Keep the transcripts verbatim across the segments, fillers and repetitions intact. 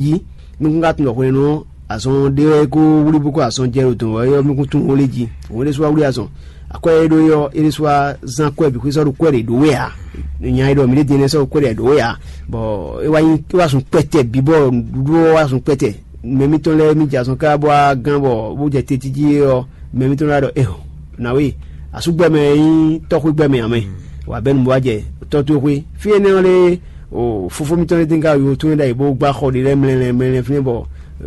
jí. Nukún ka tunwun ɖɔ hwenu ɔ́, azɔn ɖé wɛ kó wlí bó kó azɔn jɛ ɖo dɔn wɛ ɔ́, mi kún tunwun ó lé jí. Òun é ɖésú wá wlí azɔn. Akwɛ́ e ɖó é ɔ́, é ɖésú wá zán akwɛ́ bǐ xwé sɔ́ ɖo kwɛ́ ɖě ɖó wɛ ǎ. Nya e ɖɔ mǐ ɖě din énɛ́ sɔ́ ɖo kwɛ́ ɖě ɖó wɛ ǎ. Bɔ é wá nyí é wá zun kpɛtɛ bǐ bɔ nǔɖuɖu ɔ́ wá zun kpɛtɛ. Mɛ mitɔn lɛ́ɛ mì jɛ azɔn káká bó wá gán bɔ bó jɛ te jí ɔ́, mɛ mitɔn lɛ́ɛ ɖɔ: "Eho, nǎwe, asúgbɛ́ mɛ e nyí tɔ́xwégbɛ́ mɛ ǎ mɛ, wǎ bɛ́ nu bó wá jɛ tɔ́ towe xwé." Fí énɛ́ ɔ́ lɛ́ɛ, o fofó mitɔn lɛ́ɛ tɛ́nká yo tún é ɖ'ayǐ bó gbá xɔ ɖé lɛ́ɛ mlɛlɛ mlɛlɛ fínɛ́ bɔ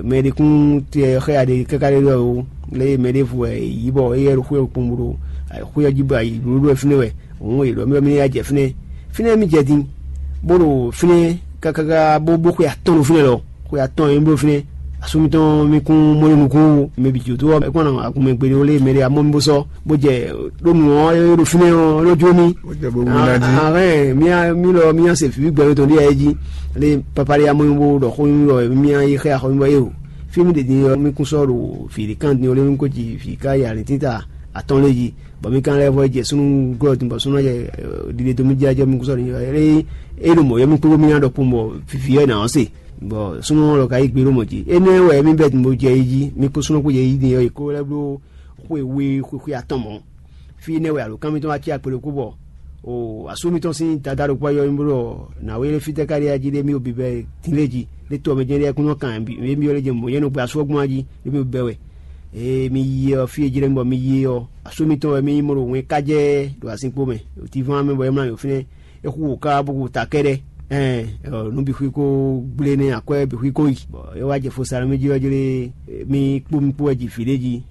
mɛ ɖé kún tɛ xɛ́ ya ɖé káká ɖé ɖɔ o lé mɛ ɖěvo wɛ è yǐ bɔ éyɛ́ ɖo xwé ɔ́ kpowun bó ɖo xwé ɔ́ jí bɔ ayǐ blóɖó wɛ fínɛ́ wɛ. Òun è ɖɔ mì ɖɔ mì ní ya jɛ fínɛ́. Fínɛ́ mì jɛ din, bó ɖo fínɛ́ kákáká bó bó xwe atɔ́ɔ́n ɖo fínɛ́ lɔ. Xwe atɔ́ɔ́n e mì bló fínɛ́, asú mitɔn mi kún mɔ ɖo nukún wú, mɛ bǐ jó dó ɔ́, é kún ná agunmɛ gbeɖé ó lé mɛ ɖé amɔ́ mi bó sɔ́, bó jɛ ɖó nǔ ɔ́ é ɖo fínɛ́ ɔ́ é nɔ jó mì. Ó jɛ bó wú ná jí. Ahɛn mi mi lɔ mi nya se fǐ gbɛ mitɔn ɖíe jí. Lé papa ɖé amɔ́ mi bó ɖɔ xó mi ɖɔ mi nya yi xɛ axɔ mi bɔ é o. Fí mi ɖe din ɔ́ mi kún sɔ́ ɖo fǐ ɖé kan din ó lé mi kó ji fǐ ká yi alǐntínta atɔ́ɔ́n lé jí. Bɔ mi kan lɛ́ vɔ jɛ súnnu glɔ́ din bɔ súnnu jɛ ɖiɖe dó mi jí ajɔ mi kún sɔ́ ɖo é ɖo mɔ̌ yɔ mi kpó mi ná ɖɔ kpó bɔ fifi ɔ́ è nǎ ɔ́ se. Bɔ súnnu ɔ́ lɔ ka yí gbe ɖó mɔ jí. Énɛ́ wɛ mi bɛ́ din bó jɛ yi jí mi kó súnnu kpó jɛ yi din ɔ́ è kó lɛ́ bló xwe we xwexwe atɔn mɔ̌. Fí énɛ́ wɛ alǒkan mitɔn wá cí akpe ɖokpó bɔ o asú mitɔn sín Dadá ɖokpó yɔ mi bló nǎwe lé fítɛ́ ká ɖé ají ɖé mi o bibɛ dín lé jí ɖé to ɔmɛ jɛ́n ɖé kún nɔ kan mi byɔ́ lé jɛ mɔ̌ yɛ́ nɔ gbé asú ɔ́ gbɔn ají ɖé mi o bɛ wɛ. Ee mi yi ɔ́ fí e jlɛ́ mi bɔ mi yi ɔ́, asú mitɔn wɛ mi yi mɔ ɖo wɛn ká jɛ ɖo azinkpo mɛ, ɖo tivan mɛ bɔ é mlá yǒ fínɛ́, é xú wǒ ká bó xú ta kɛ́ɖɛ́. Ɛn nǔ bǐ xwí kó gblé nɛ́ akwɛ́ bǐ xwí kó yi, bɔ é wá jɛ fo sa nú mì jí ɔ́ jlé mi kpó mi kpó wɛ ji vǐ ɖé jí.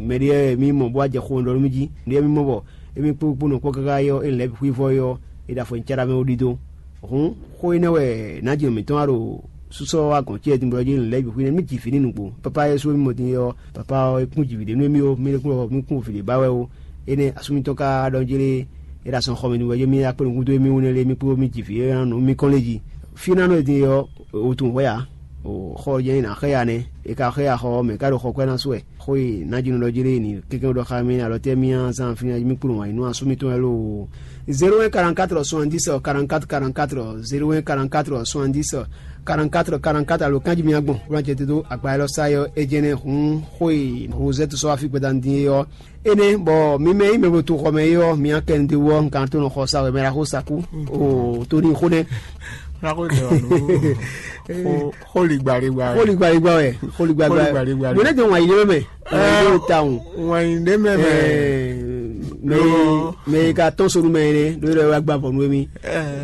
Mɛ ɖé wɛ mi mɔ bó wá jɛ xo ɖɔ nú mì jí, nǔ ɖé mi mɔ bɔ émí kpó kpó nɔ kpɔ́ káká é ɔ́, é lɛ̌ bǐ xwí vɔ é ɔ́, é ɖo afɔ nyi cáɖá mɛ ó ɖidó. Hǔn xó énɛ́ wɛ nǎjinɔ mǐtɔn wá ɖo súsɔ wá gɔ̌n ce din bɔ jí lɛ̌ bǐ xwí nɛ́ mì ji vǐ ní nǔgbó. Papa Yɛsu e mì mɔ din é ɔ́, papa ɔ́ é kún ji vǐ ɖé nú émí ó, mì ɖé kún ɔ́ mì kún vǐ ɖé ba wɛ ó. Énɛ́ asú mitɔn ka ɖɔ jlé é ɖo asɔn xɔ mɛ din bɔ jí mì akpé nukún dó émí wú nɛ́ lé mì kpó mì ji vǐ é ná nǔ mì kɔn lé jí. Fí ná nɔ din ɔ́, wǔtun hwɛ́ ǎ. Xɔ ɔ́ jɛ́n é ná xɛ́ ya nɛ́, é ka xɛ́ ya xɔ ɔ́ mɛ ká ɖo xɔ kwɛ́ ná sú wɛ. Xó e nǎjinɔ ɖɔ jí lé ni kɛ́kɛ́ ɖɔ xá mì alɔ tɛ́ mì á zán fínɛ́ mì kplɔ́n wǎ yi nú asú mitɔn wɛ loo. Zéro un quarante-quatre soixante-dix quarante-quatre quarante-quatre, zéro un quarante-quatre soixante-dix quarante-quatre quarante-quatre alo kanji mi agbɔn wlán jɛ te dó agba élɔ́ sá yɔ é jɛnɛ hun xó e Rosette sɔ́ afí gbɛdá din é ɔ́. Énɛ́ bɔ mi mɛ yi mɛ bo to xɔ mɛ é ɔ́, mi akɛn de wɔ nkan tó nɔ xɔ sa wɛ mɛ la xó sa kú. O to ní xó nɛ. Xó ligbaligba wɛ. Xó ligbaligba wɛ. Xó ligbaligba wɛ. Mo ne jɔ wà yi lé mɛ. Ɛɛ, ta o. Wà yi lé mɛ mɛ. Mɛ mɛ ka tɔn sonu mɛ ne do yɛrɛ wa gba vɔ nu mi.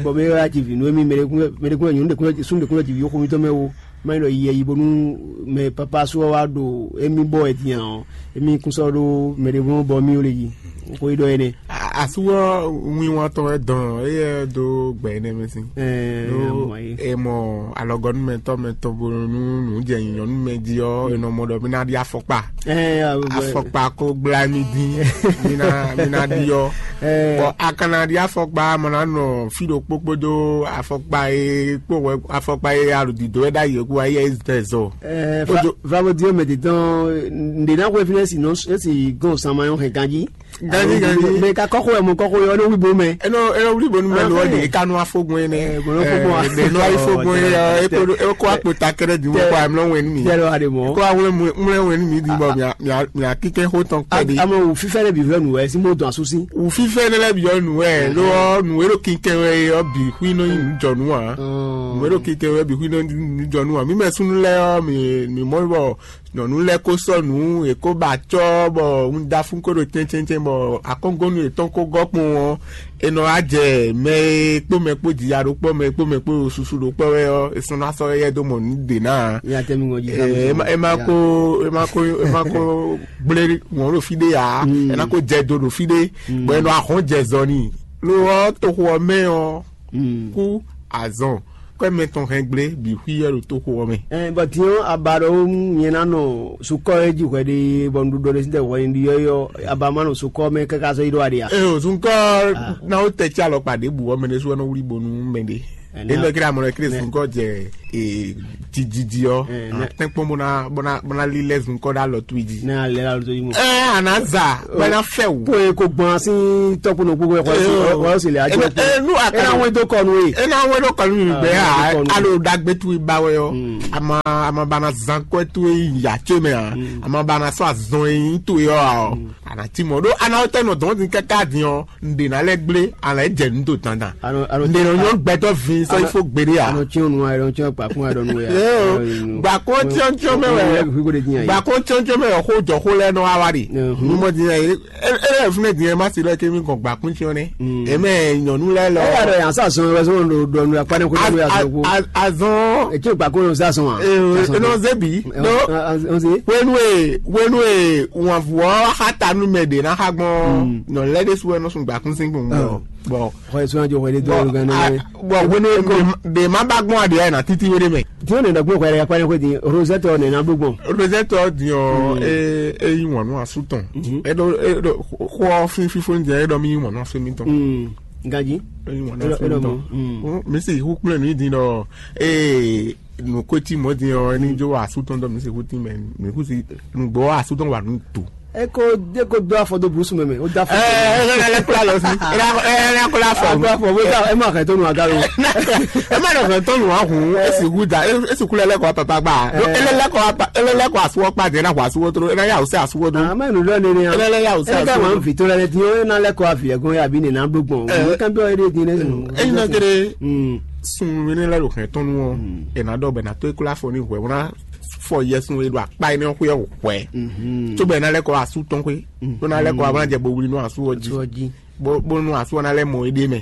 Bɔn mɛ wa ti vi nu mi mɛ de kun mɛ de kun nyɔnu de kun sun de kun ti vi xo mi tɔ mɛ wo. Mɛ yi lɔ yi yi bonu mɛ papa so wa do emi bɔ ɛ diyan o. Emi kun sɔ do mɛ de kun bɔ mi o le yi. Ko yi dɔ ene. Asúwɔ winwatɔ wɛ dɔn eye do gbɛ ene mɛ si. Ɛɛ, Ɖó mɔ yi. E mɔ alɔgɔnumɛtɔ mɛ tɔn bo nú nǔ jɛ nyɔ̌nu mɛ jí ɔ́, e nɔ mɔ ɖɔ mí ná ɖi afɔkpa. Ɛɛ, a- Afɔkpa ko gbla mí dín, mí ná mí ná ɖi ɔ́. Ɛɛ. Bɔ a ka ná ɖi afɔkpa, mɔ ná nɔ fí ɖokpó kpódó afɔkpa e kpó wɛ afɔkpa e alɔdǐdó wɛ ɖ'ayǐ ɔ́ kú wá yɛ zɛ zɔ. Ɛɛ, Ojo. Vavo di ɔmɛ di tɔn, nde na xwe fi ne si nɔ si gɔn sama yɔ hɛn ganji. Ganji, ganji. Mɛ ka kɔxo yɛ mɔ kɔxo yɔ ne wibo mɛ. Enɔ enɔ wuli bonu mɛ lɔ de eka nɔ afɔgbɔn yɛ nɛ. Ɛ, bɔn afɔgbɔn. Ɛ, de nɔ afɔgbɔn yɛ eko eko akpo ta kɛrɛ di mɔ kɔ amlɔ wɛn mi. Tɛlɛ wa de mɔ. Kɔ awlɛ mlɛ wɛn mi di bɔ mia mia mia kikɛ ho tɔn kpɛ de. Amɔ wò fifɛ ne bi vɛ nu wɛ si mo dɔn asusi. Wò fifɛ ne lɛ bi yɔ nu wɛ lɔ nu wɛ ɖo kikɛ wɛ yɔ bi hui nɔ yi nu jɔ nu wa. Nu wɛ ɖo kikɛ wɛ bi hui nɔ yi nu jɔ nu wa. Mi mɛ sunu lɛ yɔ mi mi mɔ bɔ nyɔnu lɛ ko sɔ nǔ, è ko ba acɔ́ bɔ un da fún ko ɖo cɛncɛncɛn bɔ akɔ́ngɔ́nú yětɔn ko gɔ́ kpɔn ɔ́, è nɔ wá jɛ mɛ e kpó mɛ kpó jija ɖokpɔ mɛ e kpó mɛ kpó susu ɖokpɔ wɛ ɔ́, è sɔ́ ná sɔ́ éyɛ́ dó mɔ nǔ ɖě ná ǎ. Nya tɛ́ mi ŋɔ jí. Ɛ, ɛ ma- ɛ ma ko ɛ ma ko ɛ ma ko gblé wɔn ɖo fí ɖé ǎ. Ɛ ná ko jɛ do ɖo fí ɖé, bɔ è nɔ ahɔn jɛ zɔ n'i. Lo ɔ́ toxo ɔ́ mɛ ɔ́ kú azɔn kɔ́ mɛ tɔn hɛn gblé bǐ xwí ɔ́ ɖo toxo ɔ́ mɛ. Ɛ bɔ diɔ aba ɖɔ nyɛ na nɔ sukɔ e ji hwɛ ɖe bɔ nuɖuɖu ɖe sitɛ hwɛ ɖi yɔ yɔ aba ma nɔ sukɔ mɛ kaka sɔ yi ɖo aɖia. Ee o sunkɔ na wo tɛ tsi alɔkpa ɖe bu ɔmɛ ɖe su ɔnɔ wuli bonu mɛ ɖe. Ena kira mɔ ɖe kiri sunkɔ jɛ. jijiji ɔ́, tɛ́nkpɔ́n bó ná bó ná bó ná lílɛ́ zunkɔ́ ɖó alɔ towe jí. Ne alɛ la lóto yi mɔ. Ɛ, a nǎ za bɔ é ná fɛ wò. Kó e ko gbɔn asi tɔkpɔnɔ gbogbo ɛ kɔ si ɔ si le adzɔ kpɔ. Enu aka ena wɔn do kɔnu ye. Ena wɔn do kɔnu yi gbɛ ha. Alo dagbe towe ba wɛ ɔ. Ama ama ba na zan kɔ towe yi ya tso mɛ ha. Ama ba na sɔ azɔn yi towe ɔ ha ɔ. A nǎ cí mɔ̌ ɖó a nǎ tɛ́ nɔ dɔn dín káká dín ɔ́, un ɖe ná lɛ́ gblé, a nǎ jɛ nǔ do dandan. Un ɖe nɔ nyɔ́ gbɛtɔ́ vǐ sɔ́ yi fó gbeɖé ǎ. Anɔ cyɔn nu a ɖɔ cyɔn kpakun a ɖɔ nu ya. Gbakɔn cyɔncyɔn mɛ wɛ. Gbakɔn cyɔncyɔn mɛ wɛ xó jɔ xó lɛ́ɛ nɔ wá wá ɖe. Numɔ din yɛ e e fúnɛ din yɛ ma si lɛ kémi kɔn gbakun cyɔn nɛ. Eme nyɔnu lɛ lɔ. Ɛ yà dɔ yan sa zɔn wɛ zɔn do dɔnu ya kpanɛ ko do ya zɔn ko. Azɔn. Etsɛ gbakun yɔ sa zɔn wa. Enɔ zebi. Hwenu e hwenu e wànvú ɔ́ xá ta nú mɛ ɖě ná xá gbɔn nɔ lɛ́ ɖésú wɛ nɔ sun gbakún sín gbɔn gbɔn. Bɔn xɔ yɛ sɔn jɔ xɔ yɛ dɔ gan nɛ. Bɔn hwenu e ɖe ma ba gbɔn aɖě ɛ na títí wé ɖé mɛ. Tí ó nɛ dɔgbɔn xɔ yɛ kpɛrɛ xɔ di Rosette ɔ nɛ na blo gbɔn. Rosette ɔ di ɔ e e yi wɔn nú asu tɔn. E ɖo e ɖo xɔ fífífó ní di ɛ e ɖɔ mi yi wɔn nú asu mi tɔn. Gaji. E yi wɔn nú asu mi tɔn. Mi si hu kplɔ́n mi di nɔ ee nukoti mɔ din ɔ ni jo wa asu tɔn dɔ mi si kuti mɛ mi kuti nugbo wa asu tɔn wa nu to. Eko eko do afɔ do busu mɛ mɛ o da afɔ. Ɛ ɛ ɛ kula lɔ si ɛ ɛ kula afɔ. Eko afɔ wo da ɛ ma kɛ to nu aga lo. Ɛ ma dɔ kɛ to nu ahun esi wu da esi kula lɛ kɔ papa gba. Ele lɛ kɔ apa ele lɛ kɔ asuwɔ kpa de na wɔ asuwɔ toro ena ya ose asuwɔ do. Ama nu lɔ nene ya. Ele lɛ ya ose asuwɔ do. Ɛ ka ma vi to lɛ ne ti o na lɛ kɔ avi ɛgɔn ya bi ne na do gbɔn. Ɛ kan bi ɔ ede di ne. Eyi na kere. Sun mi ne lɛ do kɛ tɔnu ɔ. Ena dɔ bɛ na to ekula afɔ ni hwɛ wona fɔ yɛsun e ɖo akpa énɛ́ ɔ́ xwé ɔ́ hwɛ. Cóbɔ é ná lɛ́ kɔ wá asú tɔn xwé, bó ná lɛ́ kɔ wá bó ná jɛ bo wlí nú asú ɔ́ jí, bó bó nú asú ɔ́ ná lɛ́ mɔ éɖée mɛ.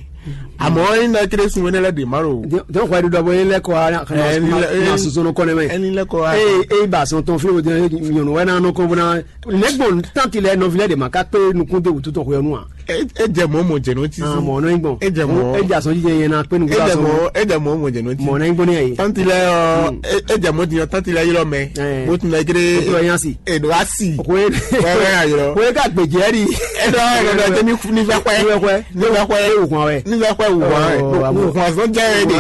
Àmọ́ é ná kéré sun énɛ́ lɛ́ ɖě má ɖo. Dɔn xɔ ɖiɖɔ bɔ é lɛ́ kɔ wá na soso nɔ kɔnɛ mɛ. Ɛni lɛ́ kɔ wá. Ee ee ba sɔn tɔn fi o nyɔnu wɛ na nɔ kɔn bó na lɛgbɔn tanti lɛ nɔvi lɛ de ma ka kpé nukún de wòtú tɔn xɔ yɔ nu a. E jɛ mɔ̌ mɔ jɛ nɔ ti. Ah, mɔ̌ nɔ nyi gbɔn. E jɛ mɔ. E jɛ asɔn jijɛ yɛn na kpe nugu. E jɛ mɔ e jɛ mɔ mɔ jɛ nɔ ti. Mɔ̌ nɔ nyi gbɔn ne yɛ. Tanti lɛ ɔ e jɛ mɔ diɲɔ tanti lɛ ylɔ mɛ. Bó tun lɛ gírí. Bó tun lɛ yán si. Èdò á sì. Wẹ́wẹ́ yà ylɔ. Wẹ́wẹ́ ká gbèjì ẹ́ di. E dɔ e dɔ jẹ ní ní fẹ́ pẹ́. Ní fẹ́ pẹ́. Ní fẹ́ pẹ́. E wò kàn wẹ́. Ní fẹ́ pẹ́ wò kàn wẹ́. Wò kàn sɔn jẹ́ ẹ de.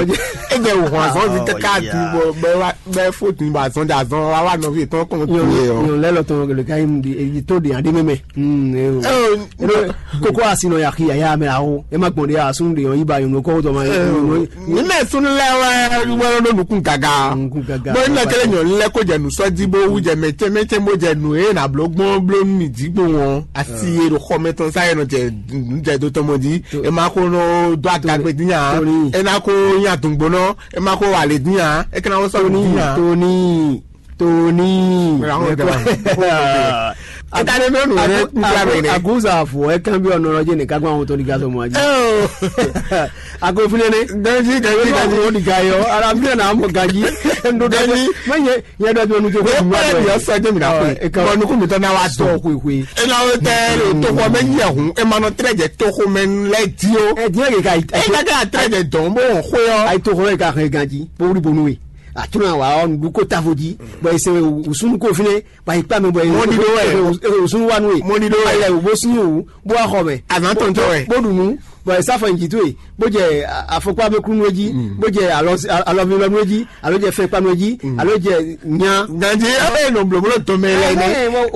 E jẹ wò kàn sɔn ti kaka ti bɔ bɛ wa bɛ fo tun ba sɔn ja sɔn wa wa nɔvi tɔn kɔn tu ye o. Yɔn lɛ lɔ tɔn gɛlɛ ka yi mu di eyi to de adi mɛmɛ. Kókó asi nɔ yaki yaya mɛ awo e ma gbɔn de asun de yɔn yi ba yɔn kɔ tɔ ma yɔn. Ní mɛ sunu lɛ wɛ wɛ ɖo nukun gaga. Nukun gaga. Bó ní lɛ kɛlɛ nyɔ lɛ kó jɛ nusɔji bó wú jɛ mɛtsɛ mɛtsɛ bó jɛ nu e na bló gbɔn bló nu mi dzi gbó wɔn asi e ɖo xɔmɛ tɔn sa yɛ nɔ jɛ nu jɛ do tɔmɔ dzi e ma ko nɔ do agagbe dín ya e na ko nya dùngbó nɔ e ma ko wà lè dín ya e kana wɔ sɔrɔ dín ya. Toni Toni. Mira, vamos a ver. Akane mɛ nu ne n fila mɛ ne. Aguza fo e kan bi ọ̀nà ọjọ́ ní kágbá àwọn tó ní gazọ mọ́ ajé. Ako fúnlẹ̀ ní. Ganji ganji ganji. Ó ní gayọ ara mi náà mọ̀ ganji. Ndo ganji. Mẹ yẹ yẹ dọ̀bí onu tó kọ́. Wọ́n pẹ́lẹ́ bí ọsọ jẹ́ mi náà pé. Bọ́ọ̀nù kún mi tán náà wá sọ. Sọ kwe kwe. E na wo tẹ lo toko mɛ yi ehun e ma nɔ trɛ jɛ toko mɛ lɛ di o. Ẹ diẹ keka. E ka ka trɛ jɛ dɔn bo xwe ɔ. Ayi toko mɛ ka hɛn ganji. Bó wuli bonu ye. Atunɔ wa ɔ nuɖuko tavo dzi bɔ ese wusunu ko fine bɔ yi kpa mɛ bɔ yi wusunu wa nu ye. Mɔni ɖo wɛ. Ayɛ wo bo sin wo bo wa xɔ mɛ. Azan tɔntɔ wɛ. Bo ɖu nu bɔ yi sa fɔ nyi to ye bo jɛ afɔkpa bɛ kunu dzi bo jɛ alɔvi lɔnu dzi alo jɛ fɛn kpanu dzi alo jɛ nya. Ganji abe nɔ blɔblɔ tɔmɛ lɛ nɛ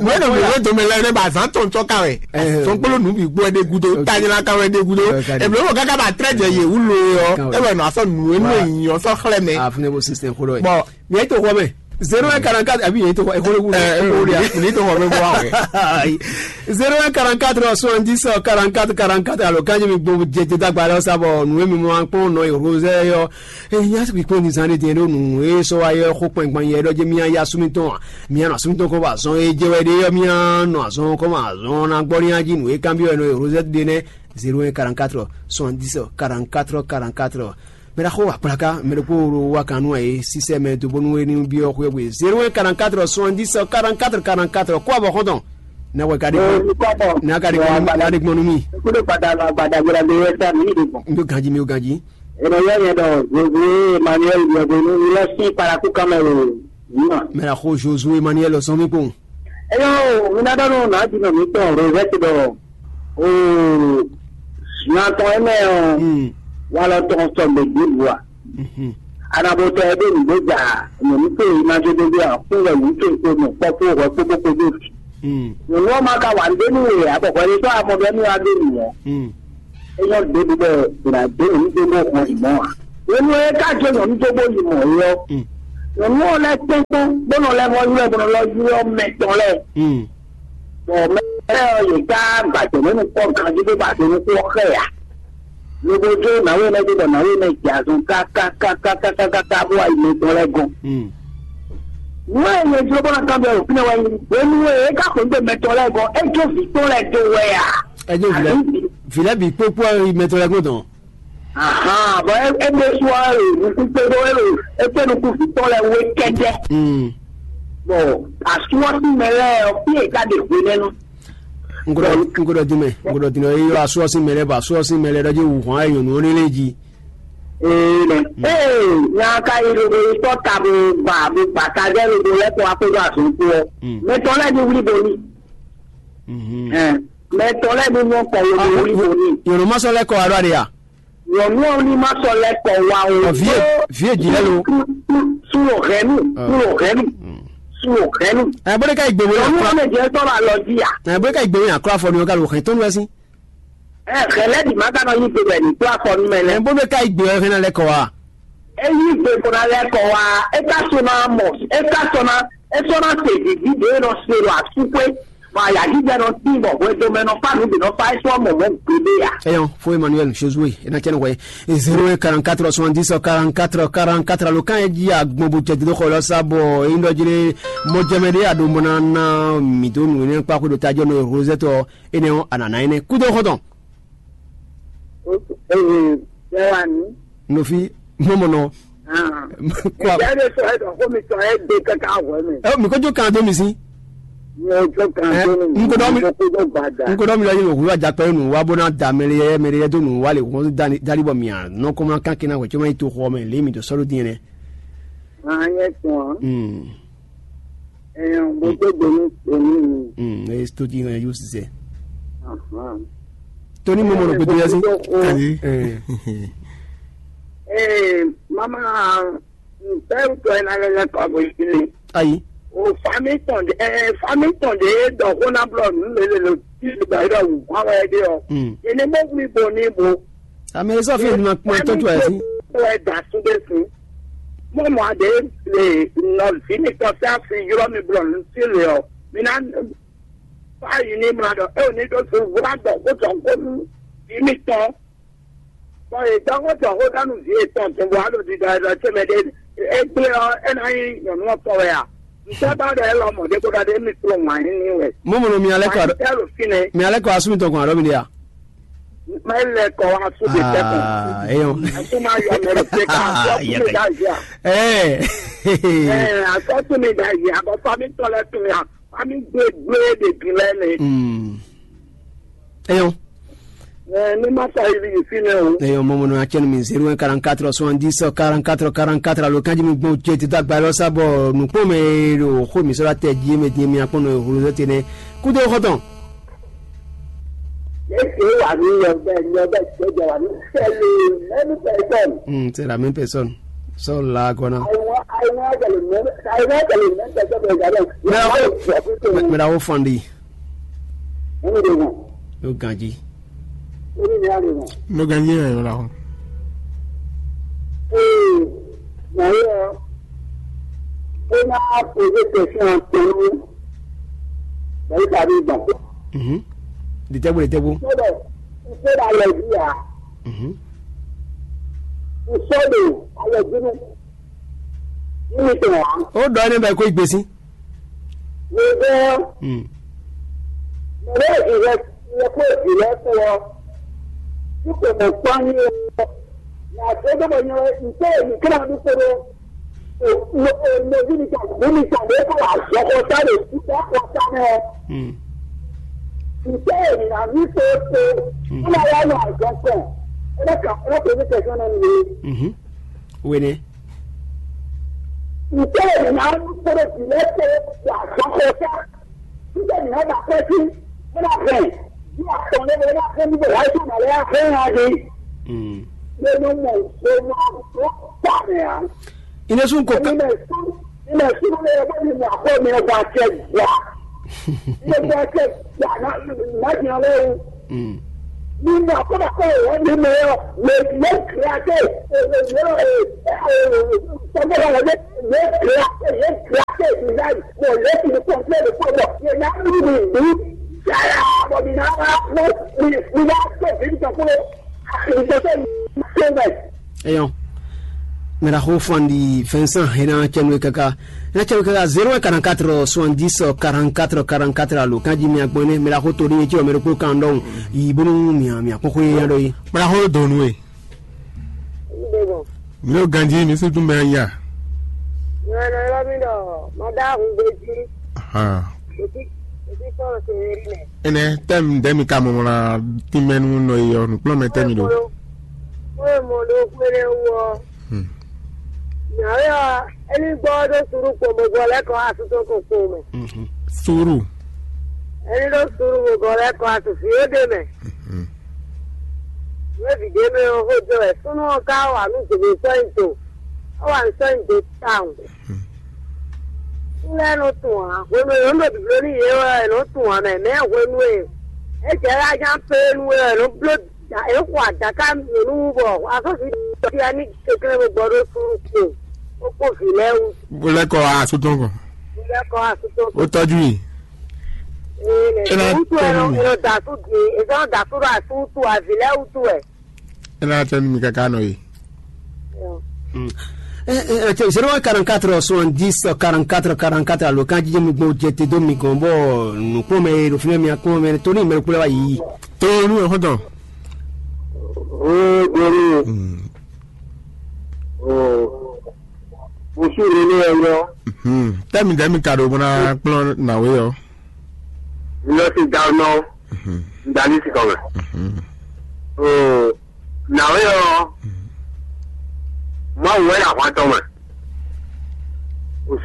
mɛ nɔ blɔblɔ tɔmɛ lɛ nɛ ba azan tɔntɔ ka wɛ. Sɔnkpolo nu bi gbɔ ɛdɛ gudo tanyina ka wɛ ɛdɛ gudo. Eblo kaka ba trɛ jɛ ye wulu yɔ ebe nɔ asɔ nu enu eyin ɔsɔ xlɛ mɛ. Afune bo sisan xolo ye. Bɔn Nya yi to xɔ mɛ. Zéro un quarante-quatre, abi nya yi to xɔ, exɔ le wu. Ɛ, ɛ, nya yi to xɔ mɛ bɔ awɛ. Zéro un quarante-quatre soixante-dix quarante-quatre quarante-quatre, alo kanji mi gbɔ jɛ jɛ dagba lɛ sa bɔ nu mi ma kpɔn nɔ yi Rosé yɔ. E nya si kpɔn ni zan de diɛ do nu e sɔ wa yɔ xɔ kpɛn kpɛn yɛ dɔ je mi ya sumi tɔn. Mi ya na sumi tɔn ko ba zɔn e je wɛ de yɔ mi ya nɔ azɔn ko ma azɔn na gbɔ ni ya ji nu e kan bi yɔ nɔ yi Rosé de nɛ. Zéro un quarante-quatre soixante-dix quarante-quatre quarante-quatre. Mɛ ɖaxó akplaka mɛ ɖokpó wa kan nú ɛ sisɛ mɛ do bónú é ní byɔ́ xwé xwé zéro un quarante-quatre soixante-dix quarante-quatre quarante-quatre kó abɔ xɔntɔn. Ne wɛ ka ɖe gbɔn ne ka ɖe gbɔn ne ka ɖe gbɔn nú mi. Kúló padà lọ àgbàdo àgbàdo àgbàdo yẹn sá mi nídìí gbọ̀n. Mi ò ganjí mi ò ganjí. Ènìyàn yẹn dọ̀ Josué Emmanuel Yẹ̀bùnú ilé sí paraku kan mẹ́rin. Mɛ ɖaxó Josué Emmanuel sɔn mi kpɔn. Eyo, mi ná ɖɔ nú nǎjínɔ mǐtɔn Rozɛ́ti ɖɔ, oo, nya tɔn énɛ́ ɔ́, walɔ tɔn sɔgbe ɖěbǔ ǎ. Anabotɔ ɛ ɖo nǔgbó ja nyɔ̌nu towe ná jó dó dó ǎ, kún wɛ nyǐ towe kpo nɔ kpɔ́ kpó hwɛ kpó kpó kpó dó vǐ. Nyɔ̌nu ɔ́ ma ka wa nǔ ɖé nú we ǎ, bɔ hwɛɖésú amɔ ɖɔ nú we wá ɖó nǔ ɔ́, é nyɔ́ ɖěbǔ bɔ è nǎ dó nyɔ̌nu dó bó hɔn yi mɔ̌ ǎ. Hwenu e é ka jó nyɔ̌nu dó bó yi mɔ̌ é ɔ́, nyɔ̌nu ɔ́ lɛ́ tɛ́nkpɔ́n bó nɔ lɛ́ vɔ́ ylɔ́ ɛ bó nɔ lɛ́ ylɔ́ mɛ tɔn lɛ́ɛ. Bɔ mɛ lɛ́ɛ ɔ́, yě ká gbajɛ nǔ kpɔ́ ganjí bó ba do nukún ɔ́ xɛ ǎ. Lobo jó nǎwe nɛ́ dó bɔ nǎwe nɛ́ jɛ azɔn kákákákákáká bó wá yi mɛ tɔn lɛ́ɛ gɔ́n. Nǔ e nyɛ jló bó ná kanbyɔ́ ɖo fínɛ́ wɛ nyí hwenu e é ká xweyǐgbe mɛ tɔn lɛ́ɛ gɔ́n, é jó vǐ tɔn lɛ́ɛ dó wɛ a? Ɛ jó vǐ lɛ́ɛ, vǐ lɛ́ɛ bǐ kpókpó ɛ yi mɛ tɔn lɛ́ɛ gɔ́n tɔn. Ahan, bɔ é é ɖésú ɔ́, é ɖo nukún kpé ɖó é ɖo é kpé nukún vǐ tɔn lɛ́ɛ wé kɛ́ɖɛ́. Bɔ asú ɔ́ sín mɛ lɛ́ɛ ɔ́, fí e é ká ɖe hwenɛ́nu. N ko ɖɔ, n ko ɖɔ din mɛ, n ko ɖɔ din mɛ, e yɔ asú ɔ́ sín mɛ lɛ́ɛ bɔ asú ɔ́ sín mɛ lɛ́ɛ ɖɔ jí wǔ hɔn ayɔ nǔ ɔ́ lé jí. Ee, nɛ. Ee, nya ka yi ɖo ɖo yi tɔ́ ta bo ba bo ba ta jɛ ɖo ɖo lɛ́ kɔ wá kpódó azɔn kpó ɔ́. Mɛ tɔn lɛ́ɛ ní wlí bo ní. Ɛn, mɛ tɔn lɛ́ɛ ní nyɔ́ kɔ wo ní wlí bo ní. Yɔ̀nù má sɔ́ lɛ́ kɔ wá ɖɔ aɖe a? Nyɔ̌nu ɔ́ ní má sɔ́ lɛ́ kɔ wá o. Ɔ, vǐ e vǐ e jǐ lɛ́ɛ lo. Sú lo hɛ̌nnu, sú lo hɛ̌nnu, sú lo hɛ̌nnu. Ɛ bó ɖé ká yi gbèwé Nyɔ̌nu akura. Ɔ́ lè jẹ́ sɔ́ ba lɔ jí a? Ɛ bó ɖé ká yi gbèwé akura fɔ ni wọ́n ká lo hɛn tɔ́nu wɛ sín. Ɛ hɛ̌ lɛ́ bǐ má ka nɔ yí gbe bɛ ní kplá fɔ nú mɛ Ɛ lɛ́ɛ. Bó ɖé ká yi gbèwé hɛn ná lɛ́ kɔ wá. É yí gbe bó ná lɛ́ kɔ wá, é ká sɔ́ ná mɔ, é ká sɔ́ ná, é sɔ́ ná se vǐví ɖě e nɔ se ɖo asúxwé. Bɔ ayǎjijɛ nɔ tín bɔ hwɛdomɛ nɔ fá nǔ bǐ nɔ fá é sɔ́ mɔ mɔ̌ gbeɖé ǎ. Eyɔn fo Emmanuel Josué ena cɛn hwɛ zéro un quarante-quatre soixante-dix quarante-quatre quarante-quatre alo kan e ji agbɔn bo jɛ dodo xɔ lɔ sa bɔ eyin dɔ jele mɔjɛmɛ ɖe aɖo mɔ na na mi do nu ne kpa ko do ta jɔ no Rosette ɔ ene ɔ anana ene kudo xɔtɔn. Ee, bɛwani. Nofi mɔmɔ nɔ. Kɔ. Ɛjɛ de sɔ ɛdɔ ko mi sɔ ɛdɛ kaka wɛ mi. Ɛ mi ko jo kan do mi si. Mi o jo kan do mi. N ko dɔ mi. N ko dɔ mi lɔ yi wò wíwá jakpɛ nu wa bó ná da mɛlɛ yɛ mɛlɛ yɛ dó nu wa lè wọ́n dali bɔ mìà nɔ kó má kán kí ná wẹ̀ tí ó má yi to xɔ mɛ lé mi tó sɔ́ ló dín yẹn. An yɛ tún. Hmm. Ɛɛ, mo tó gbé ní èmi mi. Hmm, ẹ tó dín yẹn yóò ṣiṣẹ́. Ahàn. Tó ní mo mọ̀ ló gbé tó yẹ sí. Ayi. Ẹ. Ee, mama, bɛɛ tɔ ɛ na lɛ lɛ kɔ bɔ yi ne. Ayi. O fami tɔn de, ɛɛ, fami tɔn de dɔ ko na blɔ nu le le lo ti le ba yi dɔ wu kwan wɛ de ɔ. Hmm. Ene mo wuli bo ni bo. Ame sɔ fi ma kpɔn tɔn tu ɛ si. Wɛ da su de si. Mo mɔ ade le nɔ vi mi tɔ sa fi yɔrɔ mi blɔ nu si le ɔ. Mi na fa yi ni mla dɔ e o ni do su wura dɔ ko tɔ ko nu vi mi tɔn. Bɔn e dɔn ko tɔ ko danu vi etɔn tun bo alo di da da tse mɛ de e gble ɔ e na yi nyɔnu ɔ tɔ wɛ a. N tɛ ba dɔ e lɔ mɔ de ko da de mi klo ŋwa yi ni wɛ. Mo mɔ mi alɛ kɔ. Tɛ lo fi ne. Mi alɛ kɔ asumi tɔ kɔn alɔ mi de a. Mɛ lɛ kɔ wa su de tɛ kɔn. Aa eyɔn. Asu ma yɔ mɛ de ka asɔ tu mi da zia. Ɛɛ. Ɛɛ asɔ tu mi da zia bɔ fami tɔ lɛ tu mi a fami gbe gbe de bi lɛ ne. Eyɔn. Ɛɛ ne ma ta yi fi ne o. Eyɔn mɔmɔ nɔ atsɛn mi zéro un quarante-quatre soixante-dix quarante-quatre quarante-quatre alo kanji mi gbɔn jɛ tito agba lɔ sa bɔ nukpɔn mɛ ɖo xo mi sɔrɔ tɛ ji mɛ di mi akpɔn nɔ eholo tɛ nɛ kudo xɔtɔn. Ese wà ní yọ bẹ́ẹ̀ ní ọbẹ̀ ìgbẹ́jọ wà ní sẹ́lẹ̀ mẹ́nu pẹ̀sọ́n. Hmm, c'est la même personne. Sọ la gɔna. Àìwọ́n àìwọ́n àjẹlẹ̀ mẹ́nu àìwọ́n àjẹlẹ̀ mẹ́nu pẹ̀sọ́n bẹ̀rẹ̀ gàdọ̀. Mẹ awo mẹ awo fandi. Ẹni de wọn. Yóò ganji. Ẹni de wọn. Ló ganji yẹn yọrọ ahọ́n. Ee, màá yọ. Ó máa pèsè tẹ̀sán tẹ̀lé. Bẹ̀rẹ̀ tàbí ìgbà. Mhm. Di tẹ́gbó di tẹ́gbó. Sọ́dọ̀ ìṣẹ́dá lẹ̀ bí yà. Mhm. Ìṣẹ́dá alẹ̀ bínú. Níbi tí wọ́n á. Ó dọ̀ ní bẹ́ẹ̀ kó ìgbésí. Mo gbọ́. Hmm. Mọ̀lẹ́ ìrẹ́ ìrẹ́ kó ìrẹ́ kó ọ. Tí kò mọ̀ pọ́n ní ọ. Yàtọ̀ tó bọ̀ yẹn ìṣe èmi kí náà dúpọ̀ lọ. Mo bí mi tàn mo mi tàn lé kó àjọkọ sáré títí àkọ sáré. Ìṣe èmi náà ní pé pé ó máa wá lọ àjọkọ. Ẹ bá kà ọ́ pé ní tẹ̀sán náà nìyẹn. Wene. Ìṣe èmi náà ní pé pé lẹ́sẹ̀ àjọkọ sáré. Ìṣe èmi náà bá pẹ́ sí. Ẹ bá bẹ̀. Bí àtọ̀ lé wọlé bá fẹ́ níbẹ̀ láì sọ̀rọ̀ lẹ́yà fẹ́ yàn á di. Lé nɔ mɔ gbóná tó kpa mɛ ǎ. Ine sun ko ka. Ime sun ime sun lé bó ni mɔ akɔ mi bɔ acɛ gbà. Ime bɔ acɛ gbà na na nya lé wu. Mm. Ni mɔ akɔ na kɔ wɔ ni mɛ yɔ le le kira te le le le tɔgbɔ la le le kira te le kira te design bɔ le ti kɔnplɛ de kɔ bɔ ye na mi mi mi yaya bɔ mi na wa mi mi na to bi mi tɔ kúrò. Eyɔn. Mɛɖaxó Fandi Vincent hena cɛnwe kaka. Hena cɛnwe kaka zéro un quarante-quatre soixante-dix quarante-quatre quarante-quatre alo kanji mi agbɔnɛ mɛɖaxó to ɖi yetí ɔmɛ ɖokpó kan ɖɔhun. Yi bónú mia mia kpɔn xó yé ya ɖɔ yi. Mɛɖaxó donu e. Mi ɖo ganji mi su dun mɛ ya. Nyɔnɔ ylɔ́ mi ɖɔ mɔ ɖó ahun gbé jí. Ahan. Ɖo fí ɖo fí kpɔ́n Sewéri mɛ. Énɛ́ tɛ́mi ɖɛ́ mi ka mɔ mlá tínmɛ nú nɔ e ɔ́ nǔkplɔ́nmɛ tɛ́mi ɖo. Xwé mɔ ɖo xwé ɖé wú ɔ́. Hmm. Nyɔ̌yɔ éní gbɔ ɔ́ ɖó suɖu kpomɔgbɔ lɛ́ kɔ asú tɔn kɔn kpowun mɛ. Mhm. Suɖu. Éní ɖó suɖu mɔgbɔ lɛ́ kɔ asú fí ó ɖe mɛ. Mhm. Nú é vǐ ɖé mɛ ɔ́ xó jɔ wɛ súnnu ɔ́ ka wa nú dǒdó sɔ́ nyi do. É wa nǔ sɔ́ nyi do tawun. Kú lɛ́ɛ nɔ tunwun ǎ. Hwenu e yě nɔ ɖo bǐbló nú yě wɛ è nɔ tunwun ǎ mɛ. Mɛ̌ hwenu e é jɛ wɛ ajá pé nú we wɛ è nɔ bló da- è nɔ xo adǎká mǐ nú wú bɔ asɔ́sì ɖɔ fia ní kɛnklɛ́n bó gbɔ ɖó súnnu kpo bó kpó vǐ lɛ́ɛ wú. Bó lɛ́ kɔ asú tɔn kɔ. Bó lɛ́ kɔ asú tɔn kɔ. Ó tɔ́jú yìí. Ee, É ná mɛ wútu wɛ tɔ́jú nɔ yìí. È nɔ da asú din, è sɔ́ nɔ da asú ɖo asú wútu wɛ, vǐ lɛ́ɛ wútu wɛ. É ná tɔ́jú mi káká nɔ yìí. Zéro un quarante-quatre soixante-dix quarante-quatre quarante-quatre alo kan jíjɛ mi gbɔn jɛ te dó mi gɔn bɔ nukpɔn mɛ ɖo fínɛ mi akpɔn mɛ tó ní mɛ kplɛ wa yi. Tó nú ẹ xɔtɔn. Ó gbóni. Ó. Mo sú ìrè ní ẹyọ. Tẹ́mi dẹ́mi ka ɖo bó ná kplɔ́n nàwé yɔ. Lọ sí Gaunɔ. Ndalí sí kɔmɛ. Ó. Nǎwe ɔ́, Mawu wɛ ɖo ahwan tɔn mɛ.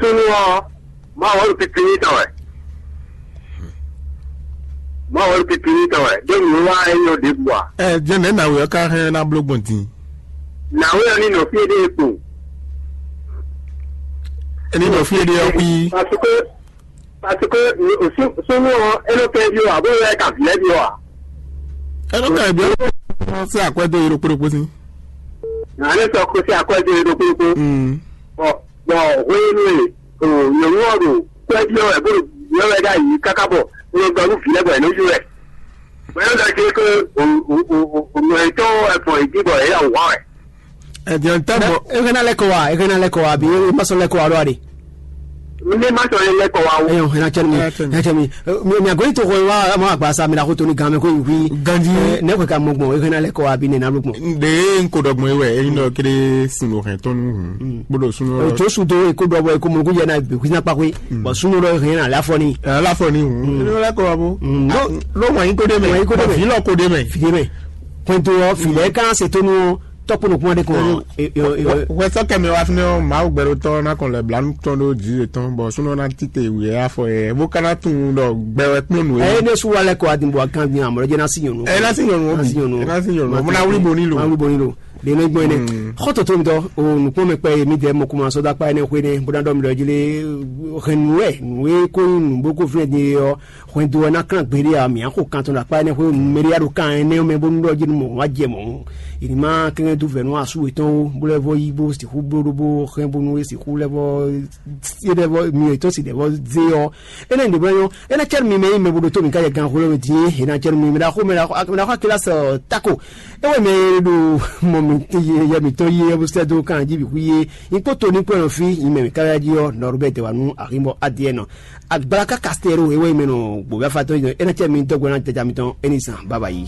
Súnnu ɔ́, Mawu wɛ ɖo pipliní tɔn wɛ. Mawu wɛ ɖo pipliní tɔn wɛ. Ɖó nǔ wá é nyɔ́ ɖěbǔ ǎ. Ɛ jɛnɛ nǎwe ɔ́ ka hɛn ná bló gbɔn din. Nǎwe ɔ́ ní nɔ fí éɖée kpo. Ní nɔ fí éɖée ɔ́ kpí. Parce que Parce que súnnu ɔ́, é nɔ kɛ byɔ́ ǎ, bó lɛ́ ka vǐ lɛ́ byɔ́ ǎ. É nɔ kɛ byɔ́ ɔ́ sɛ́ akwɛ́ dó yě ɖokpó ɖokpó sín. Nǎ lɛ́ sɔ́ kó sɛ́ akwɛ́ dó yě ɖokpó ɖokpó. Bɔ bɔ hwenu e nyɔ̌nu ɔ́ ɖo kwɛ́ byɔ́ wɛ bó ɖo byɔ́ wɛ ɖ'ayǐ káká bɔ é nɔ ɖɔ nú vǐ lɛ́ɛ bɔ yě nɔ yí wɛ. Bɔ é nɔ ɖɔ jí é ké nɔ yětɔn wɛ gbɔn yě jí bɔ yě ɖo wǎ wɛ. Ɛdiɔn tɛ bɔ. Ehe na lɛ kɔ wa, ehe na lɛ kɔ wa, bi e ma sɔn lɛ kɔ wa ɖo aɖe. Ne ma sɔn lɛ kɔ wa o. Ɛyɔ, hɛn na cɛ mi, hɛn cɛ mi. Mi mi agbɛnyi to xɔ wa, ma agba sa mi na ko to ni gan mɛ ko yi hui. Ganji. Ne ko ka mɔ gbɔn, ehe na lɛ kɔ wa, bi ne na lo gbɔn. Nde n ko dɔgbɔn yi wɛ, eyin dɔ kele sun lo hɛn tɔn nu hun. Bodo sun lo. Tso su do eko dɔ bɔ eko mɔ ko yɛ na bi hui na kpa koe. Bɔn sun lo hɛn na lɛ afɔ ni. Lɛ afɔ ni hun. Eyin lɛ kɔ wa bo. Lo lo wɔn yi ko de mɛ. Wɔn yi ko de mɛ. Fi lɔ ko de mɛ. Fi de mɛ. Pɔnto ɔ, fi lɛ kan se to nu. Tɔkpɔnɔ kuma de kɔn. Wɛ sɔ kɛmɛ wa fúnɛ ɔ, Mawu gbɛɖotɔ na kɔn lɛ blanu tɔn ɖo dzi yetɔn bɔ súnɔ na tite wǔyɛ afɔ yɛ bó ka na tunwun ɖɔ gbɛ wɛ kplɔ́n nǔ. Eye ne su wa lɛ kɔ adin bɔ akan din amɔ jɛ na si nyɔnu. Ɛ na si nyɔnu. Na si nyɔnu. Ɛ na si nyɔnu. Mo na wuli boni lo. Na wuli boni lo. De ne gbɔn ne. Xɔtɔ to mi tɔ o nukpɔn mi kpɛ mi dɛ mɔ kuma sɔda kpa ne xwe ne bó na dɔ mi dɔ jili hɛn nu wɛ nu wɛ ko nu bó ko fúnɛ din yɔ. Hwɛndo ɔ́ ná klán gbeɖé ǎ, mǐ á xo kan tɔn ɖo akpá énɛ́ xwé mɛɖé á ɖo kan énɛ́ mɛ bónú ɖɔ jí nú mɔ̌ wá jɛ mɔ̌. È ní má kɛ́nkɛ́n dó vɛ̌ nú asú yětɔn ó, bó lɛ́ vɔ́ yí bó sixú bló ɖó bó hɛn bónú é sixú lɛ́ vɔ́ é lɛ́ vɔ́ myɔ yětɔn si ɖɛ̌ vɔ́ zé ɔ́. Énɛ́ ɖě bó ná nyɔ́, é ná cɛ́ nú mi mɛ nyí mɛ bo ɖo tó mǐ ká jɛ gan xwló mɛ din é, è nǎ cɛ́ nú mi mɛ ɖaxó mɛ ɖaxó mɛ ɖaxó Akilas Tako. É wɛ mɛ e ɖo mɔ mǐ yɛ mǐtɔn yí é bó sɛ́ dó kan jí bǐ xwí é. Nyí kpó to ní kpó ɛnɔ fí, nyí mɛ mǐ ká ká jí ɔ́, nɔ ɖó bɛ́ dɛ̌ wá nú axínbɔ Adiyɛ́nɔ. Agbalaka Kastɛro e wɛ mɛ nɔ gbǒgbɛ́ afatɔ́ é ná cɛ mi dɔgbo ná jaja mitɔn é ní zan baba yi.